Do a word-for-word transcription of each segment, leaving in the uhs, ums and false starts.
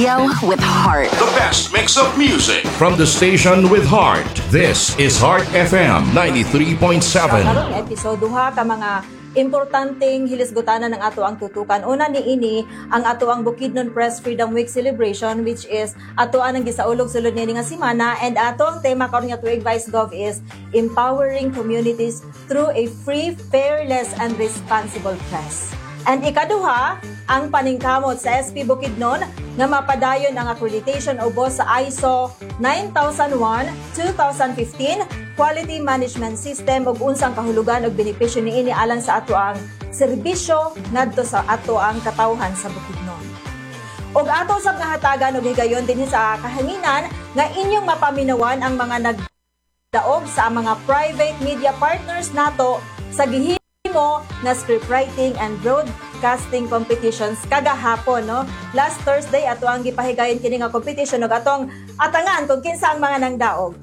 Radio with heart. The best mix of music. From the station with heart. This is Heart F M ninety-three point seven. Karong episode, duha ka mga importanteng hilisgutanan ng ato ang tutukan. Una ni ini ang ato ang Bukidnon Press Freedom Week celebration, which is ato ang gisaulog sulod niini nga semana, and ato ang tema karon nga tuig, Vice Gov, is empowering communities through a free, fearless and responsible press. And ikaduha, ang paningkamot sa S P Bukidnon nga mapadayon ang accreditation ubos sa I S O nine thousand one twenty fifteen Quality Management System ug unsang kahulugan ug benepisyo niini alang sa ato ang serbisyo ngadto sa ato ang katawhan sa Bukidnon. Ug ato sab nga hatagan og higayon dinhi sa kahanginan nga inyong mapaminawan ang mga nagdaog sa mga private media partners nato sa gihimo nga scriptwriting and broadcasting competitions kagahapon, no? Last Thursday ato ang gipahigayon kini nga competition ug atong atangan kung kinsa ang mga nangdaog.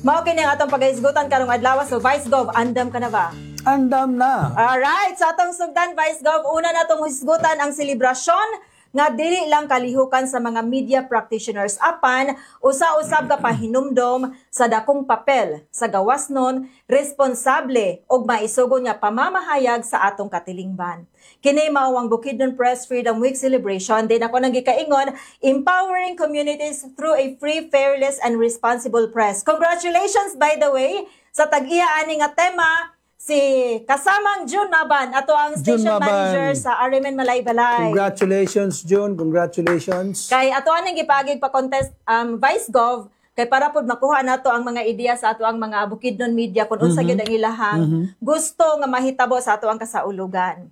Mao kini ang atong pagahisgutan karong adlaw. So Vice Gov, andam ka na ba? Andam na. Alright, sa atong sugdan, Vice Gov, una natong hisgutan ang selebrasyon nga dili lang kalihukan sa mga media practitioners apan usa-usab ka pahinumdom sa dakong papel sa gawasnon, responsable ug maisugon nga pamamahayag sa atong katilingban. Kini mao ang Bukidnon Press Freedom Week celebration din ako nang gikaingon, empowering communities through a free, fearless and responsible press. Congratulations, by the way, sa tag-iya ani nga tema, si kasamang June Maban, ato ang June station Maban. Manager sa R M N Malaybalay. Congratulations, June. Congratulations. Kay ato aning gipagig pa contest, um, Vice Gov, kay para pod makuha nato ang mga ideya sa ato ang mga Bukidnon media kung unsa gyud ang ilahang gusto nga mahitabo sa ato ang kasaulugan.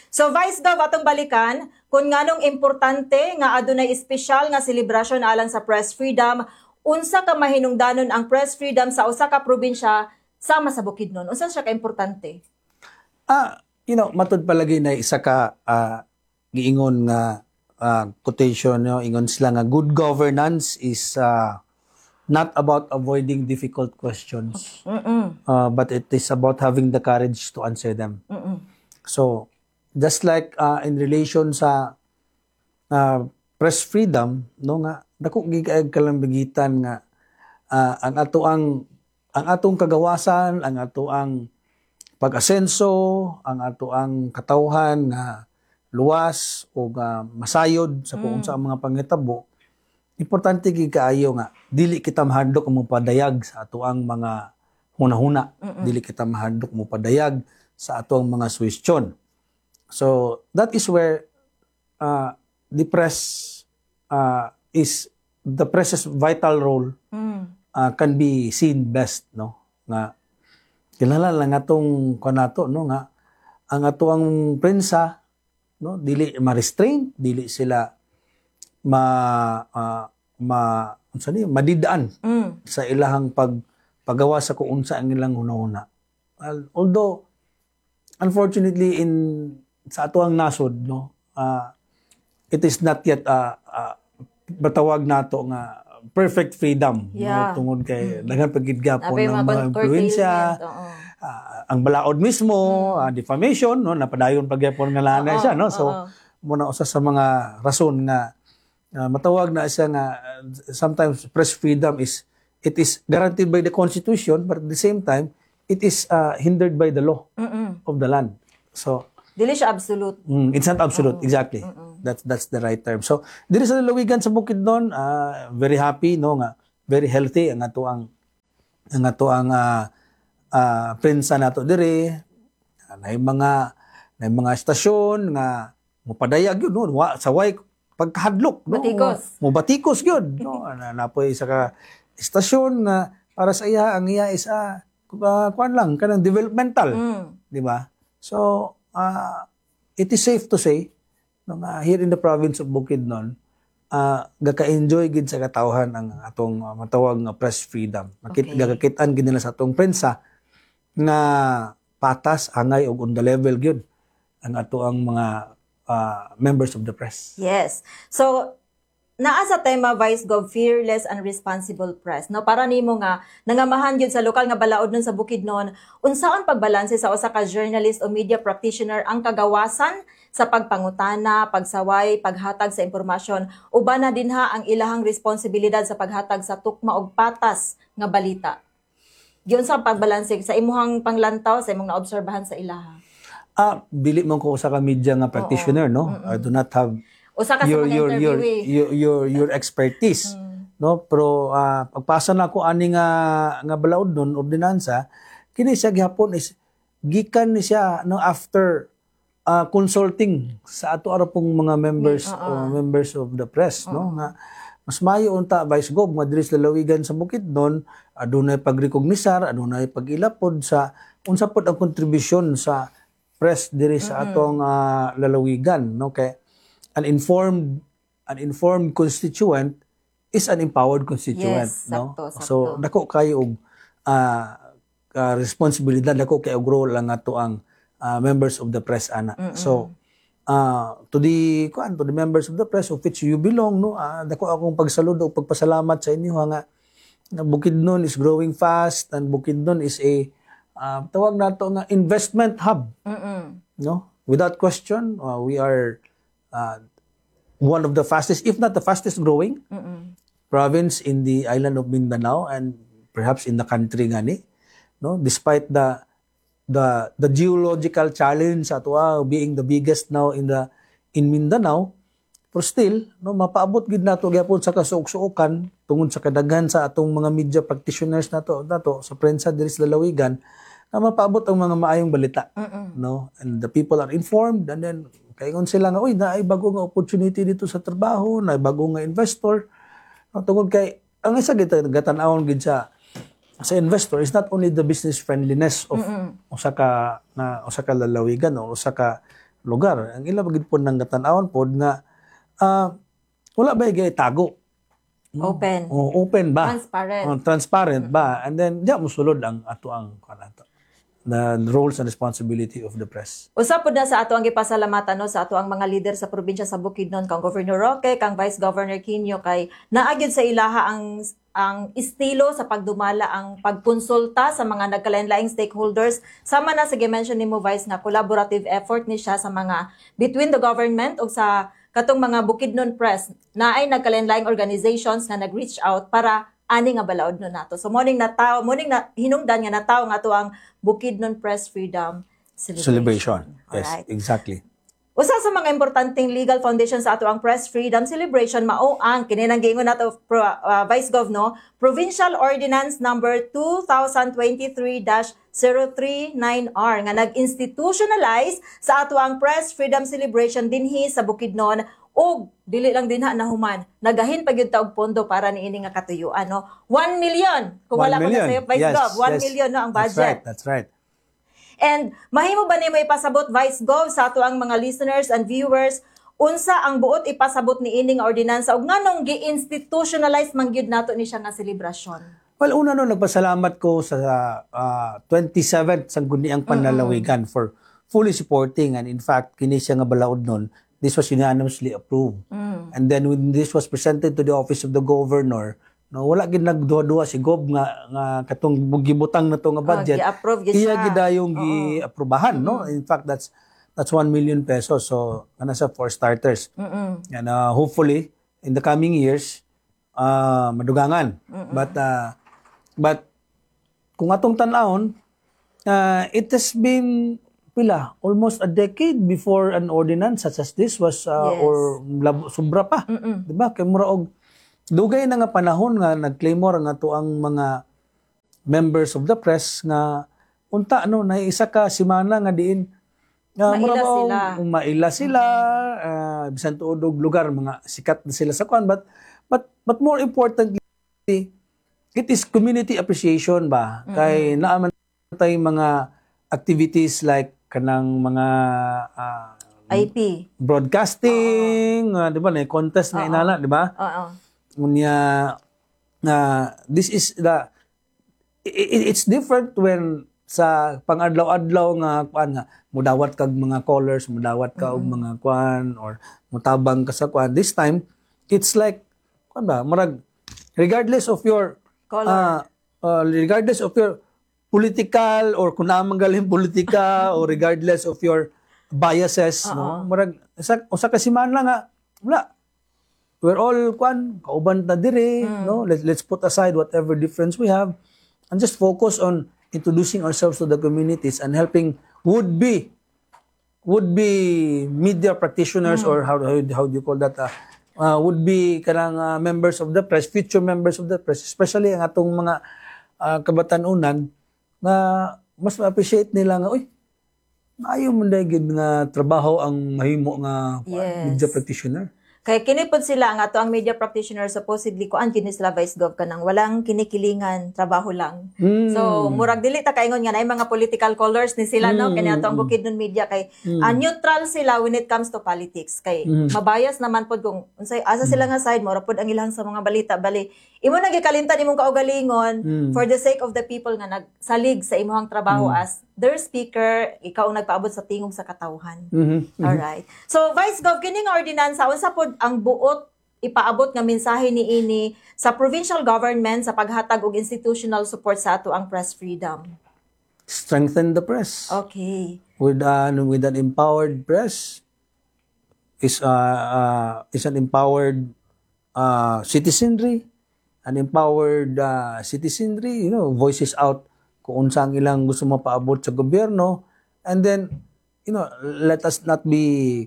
So Vice Gov, atong balikan kung nganong importante nga adunay espesyal nga selebrasyon alang sa press freedom, unsa ka mahinungdanon ang press freedom sa usa ka probinsya sama sa Bukidnon? Unsa siya ka importante? Ah, you know, matud palagi na isa ka ah, giingon nga ah, quotation, no, ingon sila nga good governance is ah, not about avoiding difficult questions, uh, but it is about having the courage to answer them. So, just like uh, in relation sa uh, press freedom, no, nga dako gyud kaayo kalambigitan nga ah, ang ato ang ang atong kagawasan, ang ato ang pag-asenso, ang ato ang katawhan nga luwas o nga masayod sa kung unsa ang mga panghitabo, importante gyud kaayo nga dili kita mahadlok mo padayag sa ato ang mga hunahuna, dili kita mahadlok mo padayag sa ato ang mga suhestyon. So that is where uh, the press uh, is the press's vital role uh, can be seen best, no, nga kilala lang atong kanato, no, nga ang ato ang prensa, no, dili ma-restrain, dili sila ma ah, ma unsa ni, madidaan Mm. sa ilahang pag paggawa sa kung unsa ang ilang hunahuna. Al- Although unfortunately in sa ato ang nasod, no, ah, it is not yet uh, uh, matawag nato nga perfect freedom, Yeah. no, tungod kay daghan pa gid gapon Napay ng mga mga curtailment, impluwensya, oo. ah, ang balaod mismo, ah, defamation, no, napadayon pa gyapon nga lana Oo, siya, no. So oo. muna usa sa mga rason nga ah, matawag na siya nga ah, sometimes press freedom is it is guaranteed by the constitution, but at the same time it is ah, hindered by the law Mm-mm. of the land. So Dili siya absolute. Mm, it's not absolute, exactly. That's that's the right term. So, diri sa lalawigan sa Bukidnon, ah, very happy, no, nga very healthy ang ato ang ang ato ang ah, ah, prensa nato diri. Nay mga nay mga estasyon nga mopadayag yun, no, wa, sa way pagkahadlok, no. Batikos. Mo batikos gyud, no. Na napoy isa ka estasyon nga para sa iya, ang iya is ah, uh, kuan lang kanang developmental, Mm. di ba? So, uh, it is safe to say no, nga here in the province of Bukidnon, uh, gaka-enjoy gid sa katawhan ang atong uh, matawag nga press freedom. Makit Okay. Gakakit-an gid nila sa atong prensa nga patas, angay ug on the level gyud ang ato ang mga uh, members of the press. Yes. So, naa sa tema, Vice Gov, fearless and responsible press. No, para nimo nga nangamahan gyud sa lokal nga balaod nun sa Bukidnon, unsaon pagbalanse sa usa ka journalist o media practitioner ang kagawasan sa pagpangutana, pagsaway, paghatag sa impormasyon. Uban na dinha ang ilahang responsibilidad sa paghatag sa tukma og patas nga balita. Giunsa ang pagbalanse sa imuhang panglantaw, sa imong naobserbahan sa ilaha? Ah, dili man ko usa ka media nga practitioner, no? I do not have Usa ka sa your mga your your, interviewee. your your your expertise, no? Pero ah, pagpasa na ako ani nga nga balaod nun, ordinansa, kini siya gihapon is gikan ni siya, no, after ah, consulting sa ato ara pong mga members o members of the press, no, nga mas maayo unta, Vice Gov, nga diri sa lalawigan sa Bukidnon adunay pagrekognizar, adunay pag-ilapod sa unsa pod ang kontribusyon sa press diri sa atong ah, lalawigan, no, kay an informed an informed constituent is an empowered constituent, Yes, no? Sakto, sakto. So dako kayo og ah, ah, responsibilidad, dako kay og role ang ato ang ah, members of the press ana. So ah, to the kuan to the members of the press of which you belong, no, ah, dako akong pagsaludo ug pagpasalamat sa inyo ha, nga nga Bukidnon is growing fast and Bukidnon is a ah, tawag nato nga investment hub, Mm-mm. no? Without question, uh, we are uh, one of the fastest, if not the fastest growing Mm-mm. province in the island of Mindanao and perhaps in the country gani, no? Despite the the the geological challenge sa atoa being the biggest now in the in Mindanao, pero still, no, mapaabot gid nato gyapon sa kasuok-suokan tungod sa kadaghan sa atong mga media practitioners nato nato sa prensa diri sa lalawigan na mapaabot ang mga maayong balita, no, and the people are informed and then kaingon sila nga, "Uy, naay bago nga opportunity dito sa trabaho, naay bago nga investor," no, tungod kay ang isa gid gatan-awon gid sa sa investor is not only the business friendliness of usa ka nga usa ka lalawigan o usa ka lugar. Ang ila gid pod nang gatan-awon pod nga ah, wala ba tago? Open. O open ba? Transparent. Oh, transparent ba? And then diya mosulod ang ato ang kuan ato, the roles and responsibility of the press. Usa pud na sa ato ang gipasalamatan, no, sa ato ang mga leader sa probinsya sa Bukidnon, kang Governor Roque, kang Vice Governor Quinio, kay naa gyud sa ilaha ang ang estilo sa pagdumala, ang pagkonsulta sa mga nagkalain-laing stakeholders, sama na sa gi-mention nimo, Vice, nga collaborative effort ni siya sa mga between the government ug sa katong mga Bukidnon press na ay nagkalain-laing organizations nga nag-reach out para ani nga balaod no nato. So morning na tao, morning na hinungdan nga natawo nga ato ang Bukidnon Press Freedom Celebration. Celebration. Yes, Alright. exactly. Usa sa mga importanteng legal foundation sa ato ang Press Freedom Celebration mao ang kini nang giingon nato pro, uh, Vice Gov, no, Provincial Ordinance Number two thousand twenty-three dash zero three nine R nga nag-institutionalize sa ato ang Press Freedom Celebration dinhi sa Bukidnon, ug dili lang dinha nahuman, nagahin pa gyud ta og pondo para niini nga katuyuan, no? one million kung wala ko na sayo, Vice Yes, Gov, one yes. million, no, ang That's budget. right, that's right. And mahimo ba nimo ipasabot, Vice Gov, sa ato ang mga listeners and viewers unsa ang buot ipasabot ni ining ordinansa ug nganong gi-institutionalize man gyud nato ni siya nga selebrasyon? Well, una, no, nagpasalamat ko sa uh, twenty-seventh Sangguniang Panlalawigan for fully supporting, and in fact, kini siya nga balaod nun, this was unanimously approved. And then when this was presented to the office of the governor, no, wala gid nagduha-duha si Gov nga nga katong gibutang na to nga budget. Oh, gi-approve gyud Iya siya. Gid dayong gi-aprobahan, no? In fact, that's that's one million pesos. So, kana sa for starters. And uh, hopefully in the coming years uh, madugangan. But uh, but kung atong tan-awon, uh, it has been pila, almost a decade before an ordinance such as this was uh, Yes. or lab, sobra pa. Di ba? Kay mura og dugay na nga panahon nga nag-claimor ang ato ang mga members of the press nga unta, no, na isa ka semana nga diin nga Maila mura ba og sila. Maila sila, uh, bisan tuod og lugar, mga sikat na sila sa kwan, but but but more importantly, it is community appreciation ba, kay naa man tay mga activities like kanang mga ah, I P. Broadcasting, ah, di ba, na contest nga inala, di ba? Oo. Unya na this is the i- i- it's different when sa pangadlaw-adlaw nga kuan nga mudawat kag mga callers, mudawat ka og mga kuan or mutabang ka sa kuan. This time it's like kuan ba, murag regardless of your Color. ah, uh, regardless of your political or kung naa man galing politika or regardless of your biases, no? Murag sa usa ka semana nga wala. We're all kwan, kauban ta dire, no? Let, let's put aside whatever difference we have and just focus on introducing ourselves to the communities and helping would be would be media practitioners or how, how how do you call that uh, uh, would be kanang uh, members of the press future members of the press especially ang atong mga uh, kabatanunan nga mas ma-appreciate nila nga uy maayo man diay gid nga trabaho ang mahimo nga kuan, Yes. media practitioner Kay kini pod sila ang ato ang media practitioner supposedly kuan kini sila Vice Gov kanang walang kinikilingan trabaho lang. Mm. So murag dili ta kaingon nga naay mga political colors ni sila no Mm, kani ato ang mm, Bukidnon media kay ah, neutral sila when it comes to politics kay Mm. mabias naman pod kung unsay asa sila nga side mura pod ang ilang sa mga balita bali imo nang gikalimtan imong kaugalingon Mm. for the sake of the people nga nagsalig sa imong trabaho as their speaker ikaw ang nagpaabot sa tingog sa katawhan. Mhm. Alright. So Vice Gov kini nga ordinansa unsa pod ang buot ipaabot nga mensahe niini sa provincial government sa paghatag og institutional support sa ato ang press freedom. strengthen the press Okay. with an with an empowered press is uh, uh, is an empowered uh, citizenry an empowered uh, citizenry you know voices out kung unsa ang ilang gusto mapaabot sa gobyerno and then you know let us not be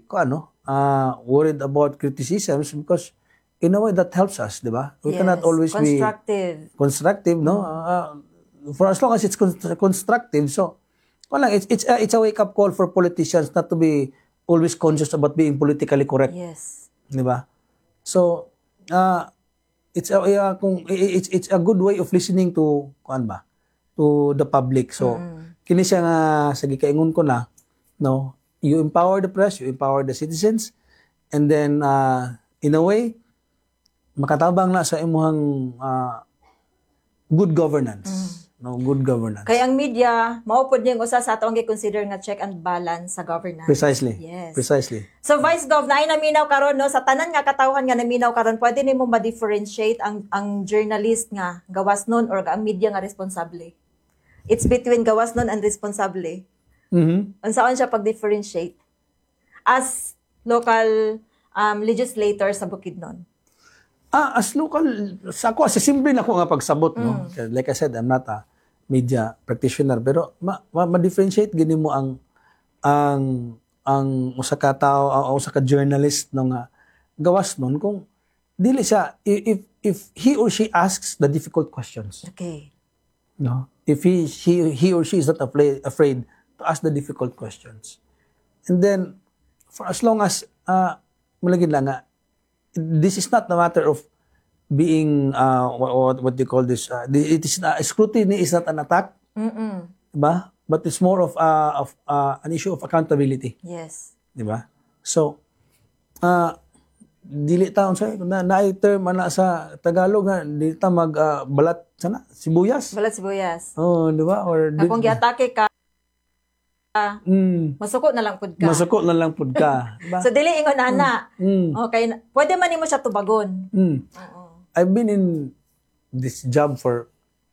kung ano uh, worried about criticisms because in a way that helps us di ba we Yes. cannot always be constructive. constructive no uh, for as long as it's con- constructive so wala it's it's a, it's a wake up call for politicians not to be always conscious about being politically correct Yes. di ba so uh, it's a uh, kung it's it's a good way of listening to kuan ba to the public so kini siya nga sa gikaingon ko na no you empower the press you empower the citizens and then uh, in a way makatabang na sa imuhang uh, good governance no good governance Kay ang media mao pod niyang usa sa ato ang gi-consider nga check and balance sa governance. precisely Yes. precisely So Vice Gov naay naminaw karon no sa tanan nga katawhan nga naminaw karon pwede nimo ma-differentiate ang ang journalist nga gawas nun or ang media nga responsable. It's between gawas nun and responsable. mhm Unsaon siya pag-differentiate as local um, legislator sa Bukidnon? Ah, as local, sa ako, sa simple na ko nga pagsabot, no? Like I said, I'm not a media practitioner, pero ma, ma, ma-differentiate gini mo ang ang ang usa ka tao, ang usa ka journalist no nga gawas nun kung dili siya if if he or she asks the difficult questions, Okay. no? If he she he or she is not afraid afraid to ask the difficult questions. And then for as long as uh malagid lang nga this is not a matter of being uh, what, what, what do you call this uh, it is not, scrutiny is not an attack Mm-mm. diba but it's more of uh, of uh, an issue of accountability Yes. di ba so uh, dili ta unsa na naay term ana sa Tagalog nga dili ta mag uh, balat sana sibuyas Balat sibuyas. oh di ba or Na kung giatake ka, mm, masuko na lang pud ka. masuko na lang pud ka di ba So dili ingon ana. mm, Okay, pwede man nimo siya tubagon. mm. Oo. I've been in this job for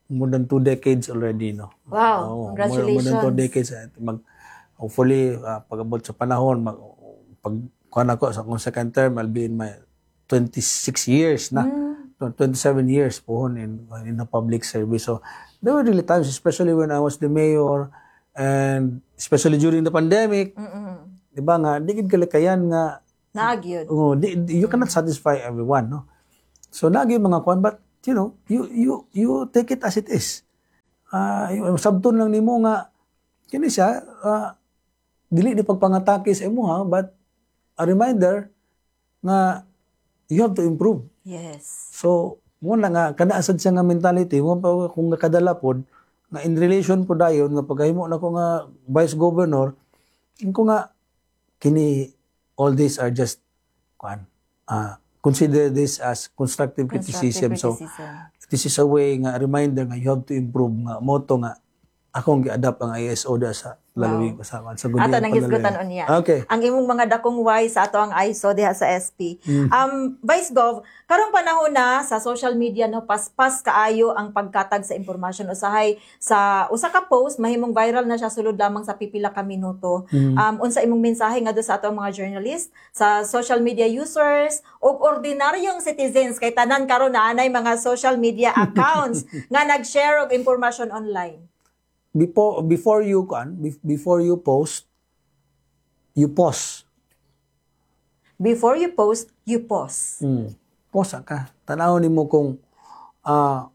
more than two decades already, no? Wow, Oo, More, congratulations. more than two decades. Eh, Mag, hopefully, uh, pag-abot sa panahon, mag, pag kuan ako sa akong second term, I'll be in my twenty-six years na. Mm. twenty-seven years pohon in, in the public service. So, there were really times, especially when I was the mayor, and especially during the pandemic, Mm-mm. di ba nga, di gid kalikayan nga Naa gyud. Oh, di, di- you cannot satisfy everyone, no? So lagi mga kuan but you know, you you you take it as it is. Ah, uh, sabton lang nimo nga kini siya ah, dili ni pagpangatake sa imuha but a reminder nga you have to improve. Yes. So mo na nga kana sad siya nga mentality mo pa kung nakadala pod nga in relation po dayon nga pagkahimo na ko nga vice governor ko nga kini all these are just kuan ah consider this as constructive, criticism. Constructive So criticism. this is a way nga reminder nga you have to improve nga mao to nga akong gi-adapt ang ISO da sa Lalawigan usapan. So, Ato nang hisgutan unya. Okay. Ang imong mga dakong why sa ato ang I S O diha sa S P. Mm. Um Vice Gov, karong panahon na sa social media, no, paspas kaayo ang pagkatag sa impormasyon. Usahay sa usa ka post, mahimong viral na siya sulod lamang sa pipila ka minuto. Mm. Um unsa imong mensahe ngadto sa ato ang mga journalist, sa social media users ug ordinaryong citizens, kay tanan karon na anay mga social media accounts nga nag-share og impormasyon online? Before before you kan before you post, you pause. Before you post, you pause. Mm. Pause ka. Tanaw nimo kung ah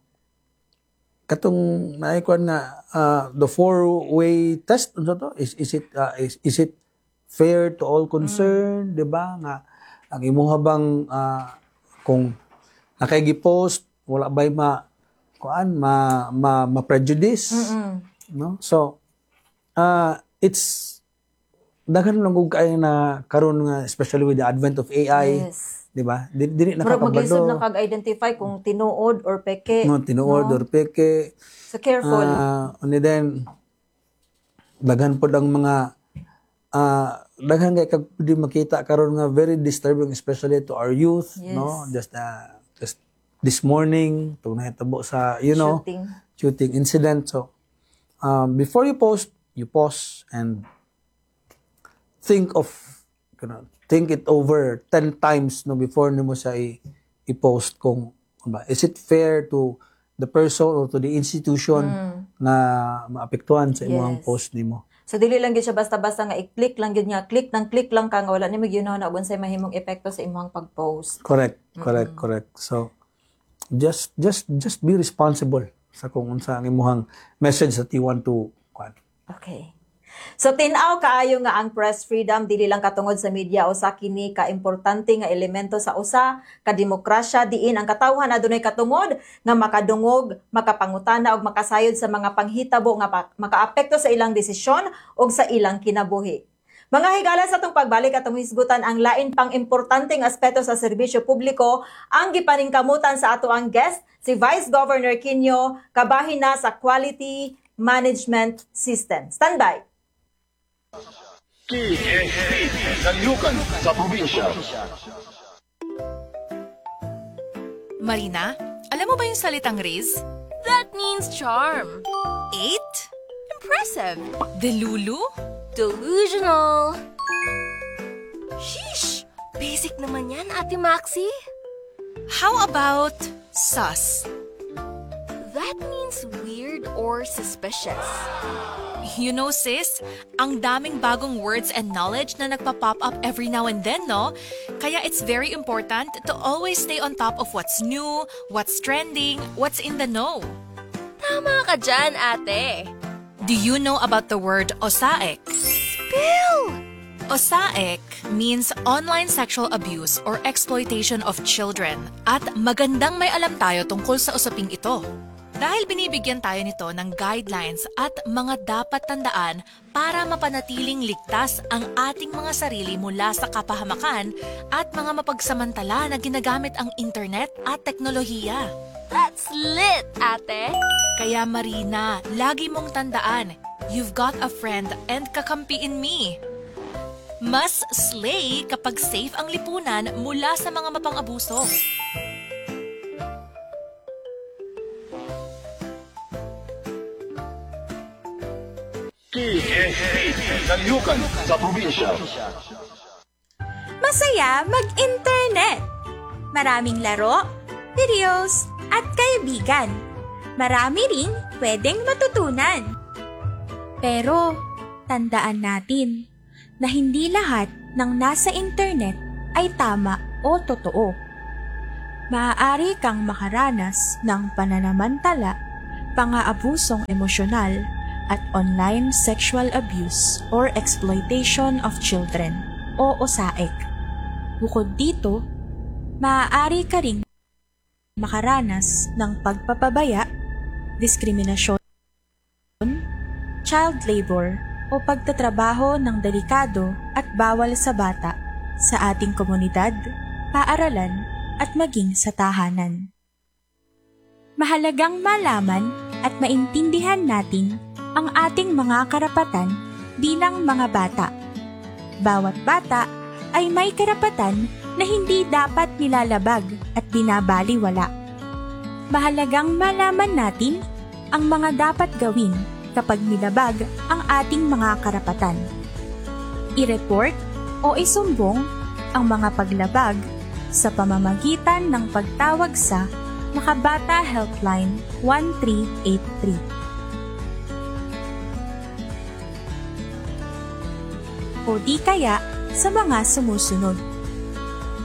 katong naikuan nga ah, the four-way test, unsa to? Is is it ah, is, is it fair to all concerned, di ba? Nga ang imuha bang ah, kung nakay gi-post, wala bay ma kuan ma ma, ma prejudice, Mm. no? So uh, it's daghan lang kung kay na karon nga, especially with the advent of A I, Yes. di ba? Dili, dili Murag maglisod nakakabalo na kag identify kung tinuod or peke. No, tinuod no? or peke. So careful. Ah, and then daghan pod ang mga ah daghan kay kag pwede makita karon nga very disturbing, especially to our youth, Yes. no? Just uh, just this morning tung nahitabo sa you know Shooting. Shooting incident. So um, before you post, you pause and think of you know, think it over ten times, no, before nimo siya i- i-post kung ano ba, is it fair to the person or to the institution na maapektuhan sa imong Yes. post nimo. So dili lang gyud siya basta-basta nga i-click lang gyud nga click nang click lang ka nga wala nimo gyud na unsay mahimong epekto sa imong pag-post. Correct, correct, correct. So just just just be responsible sa kung unsa ang imong message that you want to kuan. Okay. So tin-aw kaayo nga ang press freedom dili lang katungod sa media, usa kini ka importante nga elemento sa usa ka demokrasya diin ang katawhan adunay katungod nga makadungog, makapangutana ug makasayod sa mga panghitabo nga pa- makaapekto sa ilang desisyon ug sa ilang kinabuhi. Mga higala, sa atong pagbalik, atong hisgutan ang lain pang importanteng aspeto sa serbisyo publiko, ang gipaningkamutan sa ato ang guest, si Vice Governor Quinio, kabahin na sa Quality Management System. Standby. K S P, Kalihukan sa Probinsya. Marina, alam mo ba yung salitang Riz? That means charm. Eight? Impressive. Delulu? Delusional. Sheesh! Basic naman yan, Ate Maxi. How about sus? That means weird or suspicious. You know, sis, ang daming bagong words and knowledge na nagpa-pop up every now and then, no? Kaya it's very important to always stay on top of what's new, what's trending, what's in the know. Tama ka dyan, ate. Do you know about the word OSAEC? Spill! OSAEC means online sexual abuse or exploitation of children, at magandang may alam tayo tungkol sa usaping ito. Dahil binibigyan tayo nito ng guidelines at mga dapat tandaan para mapanatiling ligtas ang ating mga sarili mula sa kapahamakan at mga mapagsamantala na ginagamit ang internet at teknolohiya. That's lit, ate. Kaya Marina, lagi mong tandaan, you've got a friend and kakampi in me. Mas slay kapag safe ang lipunan mula sa mga mapang-abuso. K S P, Kalihukan sa Probinsya. Masaya mag-internet. Maraming laro, videos, at kaibigan. Marami ring pwedeng matutunan. Pero, tandaan natin na hindi lahat ng nasa internet ay tama o totoo. Maaari kang makaranas ng pananamantala, pang-aabusong emosyonal, at online sexual abuse or exploitation of children o OSAEC. Bukod dito, maaari ka ring makaranas ng pagpapabaya, diskriminasyon, child labor o pagtatrabaho ng delikado at bawal sa bata sa ating komunidad, paaralan at maging sa tahanan. Mahalagang malaman at maintindihan natin ang ating mga karapatan bilang mga bata. Bawat bata ay may karapatan na hindi dapat nilalabag at binabaliwala. Mahalagang malaman natin ang mga dapat gawin kapag nilabag ang ating mga karapatan. I-report o isumbong ang mga paglabag sa pamamagitan ng pagtawag sa Makabata Helpline one three eight three o di kaya sa mga sumusunod.